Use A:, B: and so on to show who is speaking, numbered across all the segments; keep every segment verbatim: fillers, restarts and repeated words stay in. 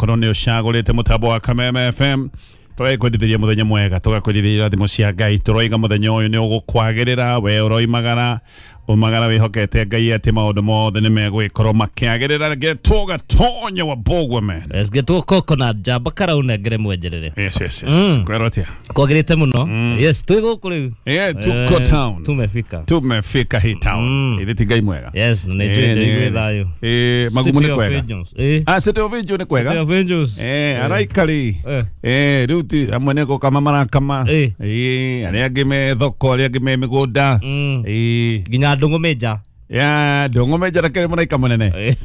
A: Gũkorwo nĩ ũcagũrĩte mũtambo wa Kameme F M. Tũrakwendithĩria mũthenya mwega, tũgakwendithĩria irathimo cia Ngai. Tũroiga mũthenya ũyũ nĩ ũgũkwagĩrĩra, we ũroimagara umagara wĩhokete Ngai atĩ maũndũ mothe nĩ megũgĩkorwo makĩagĩrĩra. Getwo Gatonya wa Bogwa man.
B: Let's get to coconut jamba karaunengere mwenjerere.
A: Yes, yes, yes. Mm. Kwero atia?
B: Kwagĩrĩte mũno. Mm. Yes, twĩ gũkũ rĩu.
A: Yeah, tuko eh, town.
B: Tumefika.
A: Tumefika hii town. Mm. Ĩrĩ ti Ngai mwega.
B: Yes, na nĩ njũĩ ndĩ thayũ.
A: Eh, magumu nĩ kwega.
B: Eh.
A: Ah, City of Angels nĩ kwega.
B: City of Angels.
A: Eh, araikari.
B: Eh,
A: eh rĩu ti amwe nĩ gũkama marakama.
B: Eh,
A: eh arĩa angĩ me thoko, arĩa angĩ me mĩgũnda.
B: Mm.
A: Eh,
B: nginya ndũng'ũ menja.
A: Ya, ndũng'ũ menja rakĩrĩ mũraika mũnene.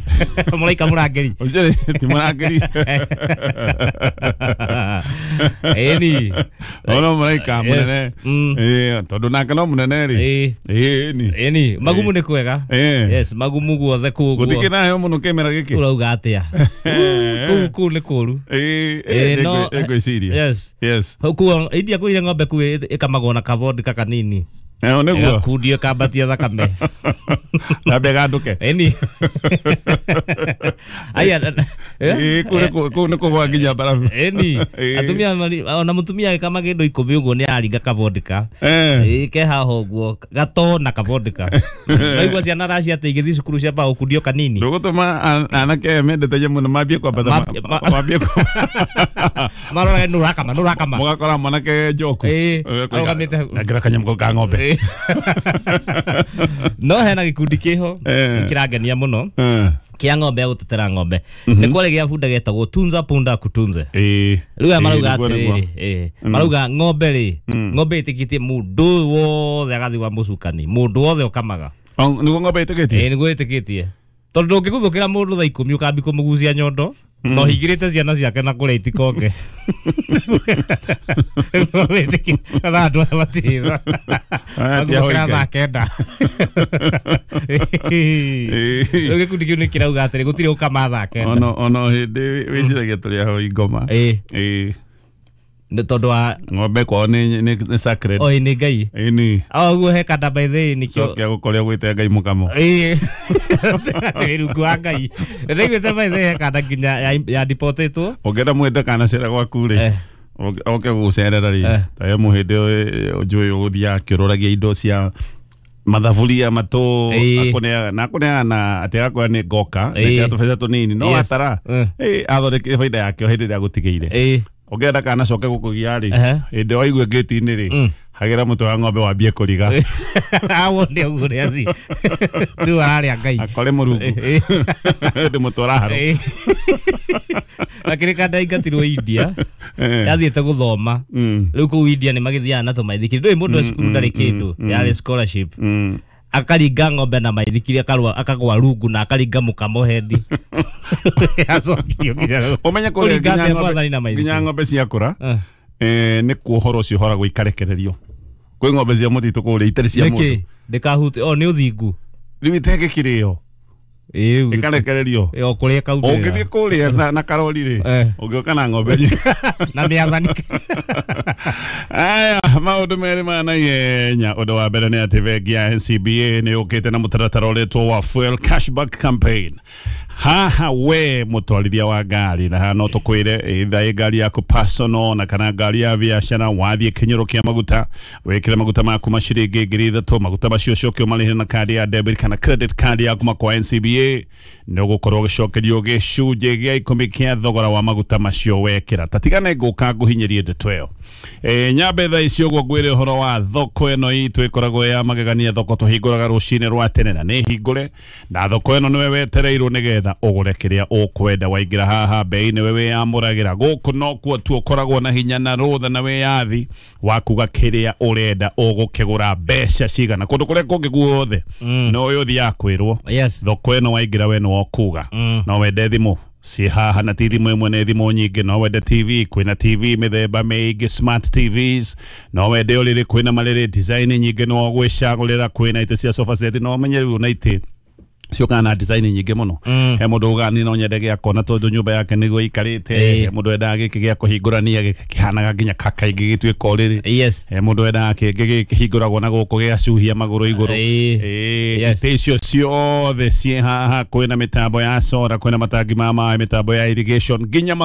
B: Mũraika mũrangĩri.
A: Ũcio ti mũrangĩri.
B: Ĩni.
A: Ono mũraika mũnene. Eh, tondũ nake no mũnene rĩ. Ĩni.
B: Ĩni, magumu nĩ kwega. Yes, magumu guothe kũu.
A: Gũtikĩ nayo mũno kĩmera gĩkĩ.
B: Ũrauga atĩa? Kũu kũu nĩ kũru.
A: Ĩĩ, no ngwĩciria.
B: Yes.
A: Yes.
B: Kũu India kwĩ ng'ombe kũu ĩkamagwo na kavodka kanini.
A: Eh, nĩguo.
B: Gakundio kambatia thakame.
A: Nambe ganduke.
B: Ĩni. Aya.
A: Ĩĩ, kũu kũu nĩ kũgwa nginya mbarabu.
B: Ĩni. Atumia ona mũtumia agĩkama kĩndũ ikũmi ũguo nĩ aringa kavodka. Ĩĩ, ke haha ũguo gato na kavodka. Naigua ciana racia atĩ igĩthiĩ cukuru ciambaga gũkundio kanini.
A: Ndũgũtũma anake aya mendete nyamũ na mambie kwambata mambie
B: maroraga nũ ũrakama nũ ũrakama.
A: Mũgakora mwanake njoku.
B: Ĩĩ, arũgamĩte.
A: Nengera kanyamũ ka ng'ombe.
B: No hena gĩkundi kĩho kĩrangenia mũno kia ng'ombe ya gũtetera ng'ombe. Nĩ kwarĩ gĩa bunda getagwo Tunza Punda Kutunze.
A: Ĩĩ.
B: Rĩu aya marauga atĩrĩrĩ, ĩĩ, marauga ng'ombe rĩ, ng'ombe ĩtĩkĩtie mũndũ wothe agathiĩ wa mũcukani, mũndũ wothe ũkamaga.
A: Nĩguo ng'ombe ĩtĩkĩtie?
B: Ĩĩ, nĩguo ĩtĩkĩtie. Tondũ ndũngĩguthũkĩra mũndũ thaa ikũmi ũkambi kũmũgucia nyondo. No higirite ciana ciake na kũrĩa itikonge. Kana andũ aya matirĩ tha. Maguthũkĩra thaa kenda. Rĩu gĩkundi kĩu nĩ kĩrauga atĩrĩ gũtirĩ ũkama thaa kenda.
A: Ono ono hĩndĩ wĩciragia tũrĩ ahoi ngoma.
B: Ĩĩ.
A: Ĩĩ.
B: Nĩ tondũ wa
A: ng'ombe kwao nĩ nĩ sacred.
B: Oi nĩ Ngai.
A: Ĩni.
B: O ũguo he kanda by the way nĩkĩo.
A: Cokia gũkorĩa gwĩte Ngai mũkamo.
B: Ĩĩ. Atĩ rungu wa Ngai. Ndaiguĩte by the way he kanda nginya ya deportĩtwo.
A: Ũngĩenda mwende kana cera gwaku rĩ. Oke gũgũcerera rĩ. Ta yo mũhĩndĩ njũĩ ũgũthiaga akĩũrũragia indo cia mathaburia matũ akũneaga na akũneaga na atĩ agakwĩra nĩ ngoka nekĩra tũbeca tũnini no atara ĩ athondekire baida yake o hĩndĩ ĩrĩa agũtigĩire. Ũngĩenda kana coke gũkũgia rĩ hĩndĩ waigua ngĩti-inĩ rĩ hagĩra mũtwe wa ng'ombe wambie kũriga.
B: Wone ũguo ũrĩa athiĩ. Rĩu ararĩa Ngai.
A: Akore mũrungu. Ndĩ mũtwara harũ.
B: Akĩrĩ kanda aingatirwo India. Yathiĩte gũthoma. Rĩu kũu India nĩ magĩthiaga na tũmaithikiri. Ndũĩ mũndũ e cukuru ndarĩ kĩndũ. Yarĩ scholarship. Akaringa ng'ombe na maithikiri akarwa akagwa rungu na akaringa mũkamo hendi. Acokirio nginya
A: ũmenye kũrĩa nginya ng'ombe ciakũra eh nĩ kuohoro ũcio ũhoragwo ikarekererio. Kwĩ ng'ombe cia mũtitũ kũrĩa itarĩ cia mũndũ.
B: Nĩkĩ? Ndĩkahute o nĩ ũthingu.
A: Rĩu itege kĩrĩo.
B: Ĩĩ
A: ikarekererio.
B: O kũrĩa kaumĩra.
A: Ũngĩthiĩ kũrĩa na karori rĩ ũngĩũka na ng'ombe
B: na mĩathani.
A: Aya maũndũ merĩ ma naihenya. Ũndũ wa mbere nĩ atĩ bengi ya N C B A nĩ yũkĩte na mũtaratara ũretwo wa Fuel Cashback Campaign. Haha we mũtwarithia wa ngari na haha no tũkwĩre either ĩ ngari yaku personal na kana ngari ya biacara wathiĩ kĩnyũrũ kĩa maguta wĩkĩre maguta maku ma ciringi ngiri ithatũ maguta macio ũcoke ũmarĩhe na kandi ya debit kana credit card yaku ma kwa N C B A nĩ ũgũkorwo ũgĩcokerio gĩcunjĩ gĩa ikũmi kĩa thogora wa maguta macio wekĩra. Ta tigane ngũka ngũhinyĩrie ndeto ĩyo. Eh, nyambe thaa ici ũguo ngwĩre ũhoro wa thoko ĩno itũ ĩkoragwo ya magegania. Thoko tũhingũraga rũcinĩ rwa tene na nĩ hingũre na thoko ĩno nĩwe wetereirwo nĩgetha ũgũre kĩrĩa ũkwenda. Waingĩra haha bei nĩwe wĩyamũragĩra. Gũkũ nokuo tu ũkoragwo na hinya na rũtha na wĩyathi wa kuga kĩrĩa ũrenda ũgũkĩgũra mbeca cigana. Kũndũ kũrĩa kũngĩ guothe no ũyũ ũthiaga kwĩrwo. Thoko ĩno waingĩra we nĩwe ũkuga. No wende thimũ ciĩ haha na ti thimũ ĩmwe nĩ thimũ nyingĩ. No wende T V kwĩna T V mĩthemba mĩingĩ smart T Vs. No wende ũrĩrĩ kwĩna marĩrĩ design nyingĩ no ũgwĩcagũrĩra. Kwĩna itĩ cia sofa set no ũmenye rĩu na itĩ ciũkaga na design nyingĩ mũno. He mũndũ ugaga niĩ no nyende gĩa kona tondũ nyũmba yake nĩguo ĩikarĩte. He mũndũ wendaga gĩkĩ gĩa kũhingũrania gĩkĩ kĩhanaga nginya kakaingĩ gĩtuĩka ũrĩrĩ. He mũndũ wendaga kĩngĩ kĩhingũragwo na gũkũ gĩgacuhia magũrũ igũrũ. Itĩ icio ciothe ciĩ haha. Kwĩna mĩtambo ya solar, kwĩna matangi ma maĩ, mĩtambo ya irrigation nginya